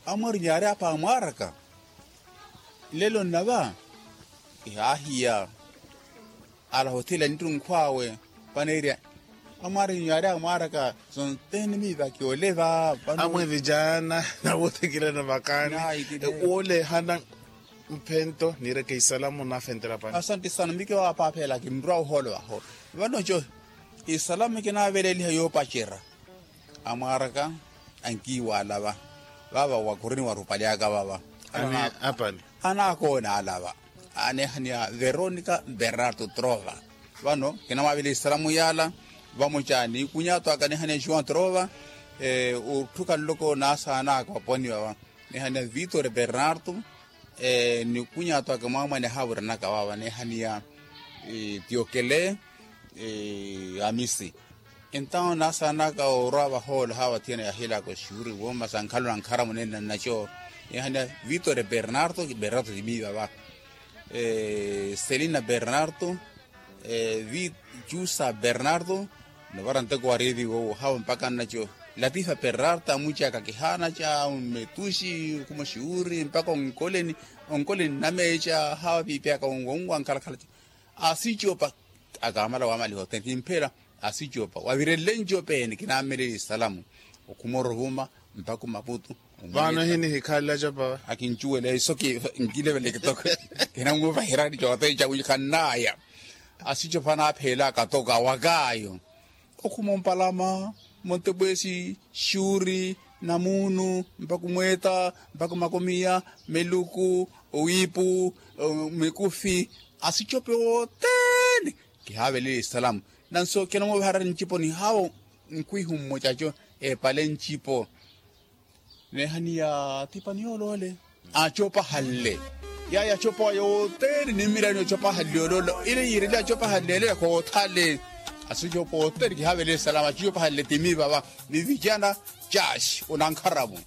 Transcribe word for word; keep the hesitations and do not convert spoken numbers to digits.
Amwarinyu yaari apa amwaaraka nlelo nnava. Kihaahiya ala hothela nittunkhw'awe. Paneerya amwarinyu yaari amwaaraka. Sontene miivaki oleva. Amwe vijaana nawoothikilana vakaani. Woolehana mphento niireke isalamu naafentela pani. Asante sana mike waapaaphela kinrwa ohoolo vaho. Vano co isalamu kinaveleliha yoopacerya. Amwaaraka ankiiwala va vava wakurini warupalyaka vava. Anakoona ala va aneehaniya veronica bernardo trova. Vano kinamwaavela isalamu yala vamoca nikunyaato aka aneehaniya joão trova. Otthuka nloko naasaanaka vaponiwa va aneehaniya vitor bernardo. Nikunyaato aka mwaamwane haawiranaka vava aneehaniya tiokele amisi. Entawo naasaanaka orwa vahoolo hawa thiyana yahiilaka oxiwuri wooma sa nkhalo na nkharamu neene nnaco. Nihaniya vitor bernardo bernardo timiiva va selina bernardo vi jusa bernardo. Novara nteko wa revi wowo hawa mpaka nnaco latifa bernardo amucaka kihaanaca mmetuxi okhuma oxiwuri mpaka onkoleni onkoleni nnameeca hawa piipiyaka onwankhalakhalaca. Asicopa akamala wamaliha othene kimphela asicopa wavirelle ncopeene kinammelele isalamu. Okhumora ovuma mpakhu maputu vano hinihikhalla copa akincuwela iso nkilevele kitoko. Kinamuvahirani cothene cakuyi khannaya asicopa naapheela akatoka wakaayo. Okhuma ompalama montepwesi xuuri namuunu mpaku mweeta mpaku makomiya meluku owiipu mikufi asicope wothene. Kihaavelela esalamu nanso kinamuvaharani ncipo nihawo nkwihu mmocaco epale ncipo. Neehaniya tipani yoolole acopahanle yaya acopa yothene nimmirani ocopahanle ololo ile yiirele acopahanle ele yakhothale. Asicopa othene kihaavelela esalamu acopahanle timi vava ni vijana caxi onankharamu.